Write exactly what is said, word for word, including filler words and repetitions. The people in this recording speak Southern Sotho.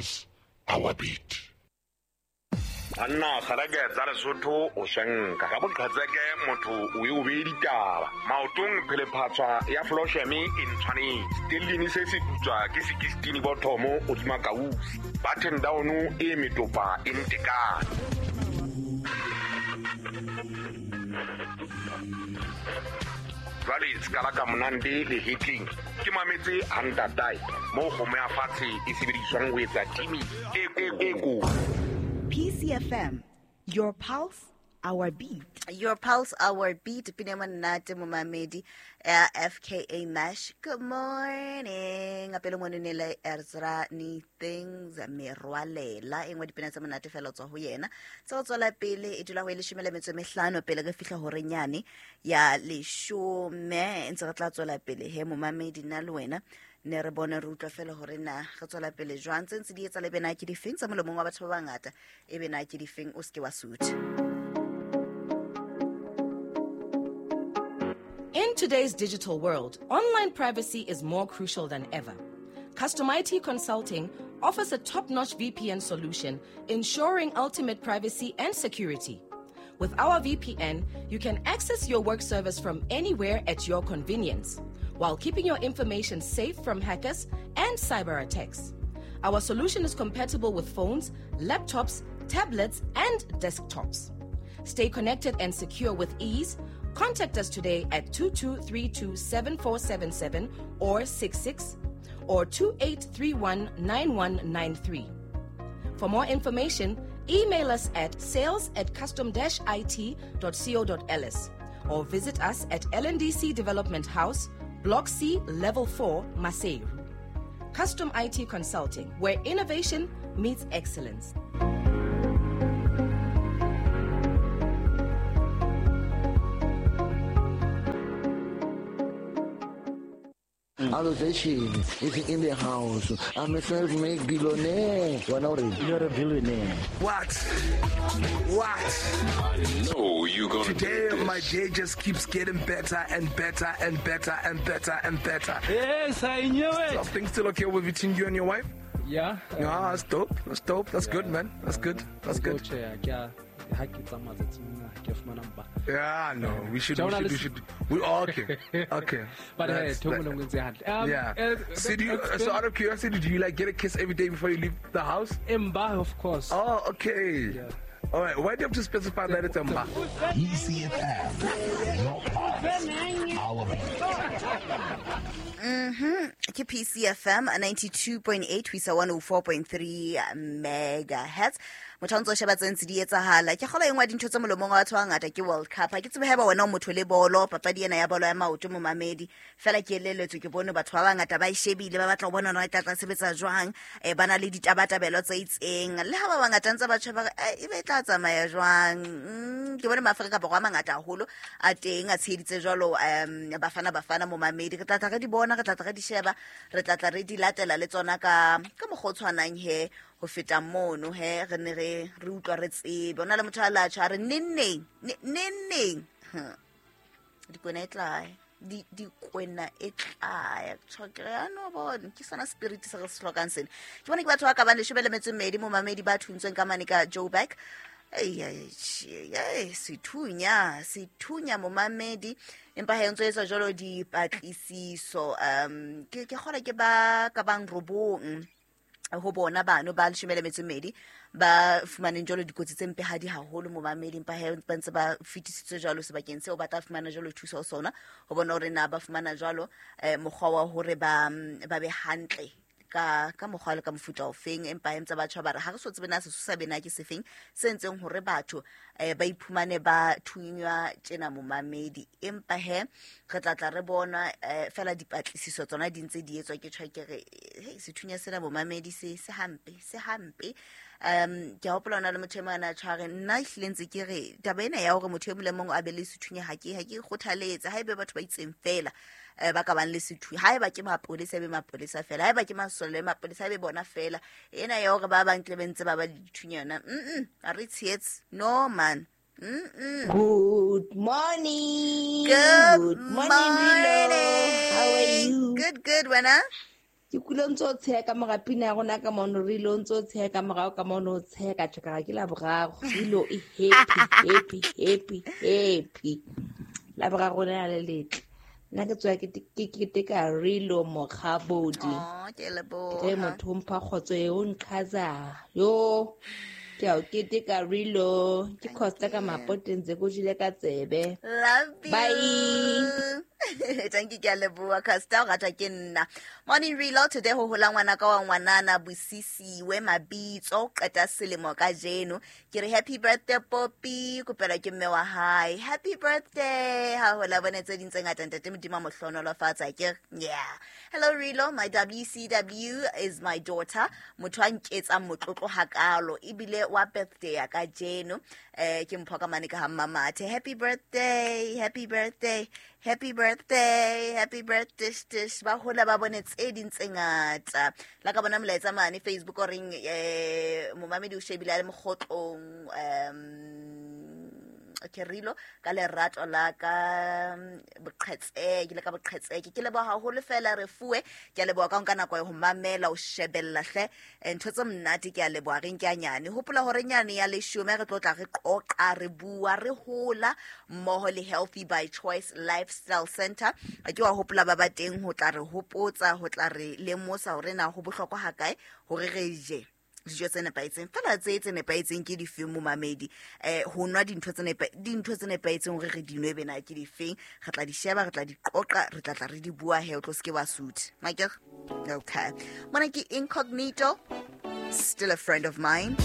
pulse, our beat. Anna kgareke tsa Lesotho o shanka ka boqhetseke motho o e o be ditaba maotong phelephatswa ya Flosheme e ntshwanetse tellini se se putswa ke sixteen bothomo o tsima kausi button down e metopa e ntekane jwale skala ka monande le hitling ke mametse hantatai mo kgomo ya fatshe e sebediswang ho etsa timi e e ko. P C F M, your pulse, our beat. Your pulse, our beat. Pina monate momamedi F K A Mash. Good morning. Apelo monenele Ezra ni things merwalela. Engwe dipina tsa monate fela tswa ho yena. Tsa tswela pele e dula ho e leshome le metso e mehlano pele re fihla hore nyane ya leshome ntse re tla tswela pele he momamedi nna le wena. Ne re bone re utlwa fela hore na re tswela pele jwang tse ntse di etsa le bena ke difeng tsa molomong wa batho ba bangata e bena ke difeng o seke wa sutha. In today's digital world, online privacy is more crucial than ever. Custom I T Consulting offers a top-notch V P N solution, ensuring ultimate privacy and security. With our V P N, you can access your work servers from anywhere at your convenience, while keeping your information safe from hackers and cyber attacks. Our solution is compatible with phones, laptops, tablets, and desktops. Stay connected and secure with ease. Contact us today at two two three two seven four seven seven or six six or two eight three one nine one nine three. For more information, email us at sales at custom dash it dot co dot l s or visit us at L N D C Development House, Block C, Level four, Maseru. Custom I T Consulting, where innovation meets excellence. Allocation is in the house. I'm a self-made billionaire. You're a billionaire. What? What? I know you're gonna Today, do this. My day just keeps getting better and better and better and better and better. Yes, I knew it. So, things still okay with between you and your wife? Yeah. Yeah, um, that's dope. That's dope. That's yeah. good, man. That's good. That's good. Yeah, no, we should, we should, we should, we all okay, okay. But hey, um, yeah. Uh, so, do you, so out of curiosity, do you like get a kiss every day before you leave the house? Mba, of course. Oh, okay. Yeah. All right. Why do you have to specify that it's Mba? P C F M, your pulse, our beat. Mm-hmm. Ke P C F M ninety-two point eight ho isa one oh four point three megahertz. Motho o ntso sheba tse ntse di etsahala. Ke kgola engwe dintho tse molomong wa batho ba bangata ke World Cup. Ha ke tsebe haeba wena o motho le bolo, papadi ena ya bolo ya maoto momamedi. Fela ke eleletswe ke bone batho ba bangata ba e shebile, ba batla ho bona hore e tla tla sebetsa jwang. Eh ba na le ditabatabelo tse itseng. Le ha ba bangata ntse ba tjheba e be tla tsamaya jwang. Mm, ke bone maAfrika Borwa a mangata haholo a teng a tsheheditse jwalo um bafana bafana momamedi. Re tla tla re di bona, re tla tla re di sheba, re tla tla re di latela le tsona ka ka mokgwa o tshwanang he ho feta mono he re ne re re utlwa re tsebe. Ona le motho a latjha re neng neng neng dikwena e tla di dikwena e tla tshokere no bona ke sona spirit se re se hlokang sena. Ke bona ke batho ba ka bang leshome le metso e mmedi momamedi ba thuntsweng ka mane ka Joburg. Ei ei sethunya sethunya momamedi empa ha ntse etsa jalo dipatlisiso um ke ke kgona ke ba ka bang robong ho bona bano ba leshome le metso e mmedi ba fumaneng jalo dikotsi tse mpehadi haholo momamedi empa ha ba ntse ba fetisitswe jalo sebakeng seo ba tla fumana jalo thuso ho sona ho bona hore na ba fumana jalo eh, mokgwa wa hore ba ba be hantle ka ka mokgwa le ka mofuta o feng empa ntse ba tjha ba re ha re so tsebe na sesosa bena ke sefeng se ntseng hore batho eh, ba iphumane ba thunywa tjena momamedi empa he re tla tla re bona eh, fela dipatlisiso tsona di ntse di etswa ke tjha ke re hey sethunya sena momamedi se se hampe se hampe um ke hopola ona le motho e mong a tshware nna ehlile ntse ke re taba ena ya hore motho e mong le mong a be le sethunya ha ke ha ke kgothaletse ha ebe batho ba itseng fela eh ba ka bang le sethunya ha eba ke mapolesa be mapolesa fela ha eba ke masole mapolesa be bona fela ena ya hore ba bang tle be ntse ba ba dithunya yona mm mm a re tshetse no man. Mm-mm. Good morning. Good, good morning, morning. How are you? Good, good, wena. Ke kule ntse o tsheha ka mora pina ya rona ka mono re ile o ntse o tsheha ka morao ka mono o tsheha ka tjho ka re ke Laboraro. Rilo e happy, happy, happy, happy. Laboraro lena le letle. Nna ke tswa ke ke keteka Rilo Mokgabodi. Oh, ke leboha. Ke motho o mpha kgotso e o nqhaza. Yo, ke a o keteka Rilo. Ke Costa ka Mapoteng tse ko jele ka tsebe. Love you. Bye. Thank you, ke a leboha Costa, o ratwa ke nna. Morning Rilo, today ho hola ngwana ka wa ngwanana Bosisiwe Mabitso, qeta selemo kajeno. Ke re happy birthday Poppy, kopela ke mme wa hae. Happy birthday. Ha hola bone tse ding tse ngata ntate Modimo a mo hlohonolofatsa ke. Yeah. Hello Rilo, my W C W is my daughter. Motho a nketsang motlotlo hakalo ebile wa birthday ya kajeno. Eh ke mpho ka mane ka ha Mmamathe. Happy birthday, happy birthday. Happy birthday, happy birthday, tish. Ba hola ba bone tse ding tse ngata. La ka bona molaetsa mane Facebook o reng eh momamedi o shebile a le mokgotlong um ke Rilo ka lerato la ka boqhetseke le ka boqhetseke. Ke leboha haholo fela re fuwe. Ke a leboha ka nka nako ya ho mamela o shebella hle ntho tse monate. Ke a leboha re nke a nyane. Hopola hore nyane ya leshome re tlo tla re qoqa re bua re hola mmoho le Healthy by Choice Lifestyle Center. Ke wa hopola ba ba teng ho tla re hopotsa ho tla re lemosa hore na ho bohlokwa hakae hore re je dijo tse nepahetseng. Fela tse tse nepahetseng ke difeng momamedi? Eh ho nwa dintho tse nepa dintho tse nepahetseng hore re di nwe bena ke difeng? Re tla di sheba, re tla di qoqa, re tla tla re di bua he o tlo seke wa sutha. Makere? Okay. Mona ke Incognito, still a friend of mine.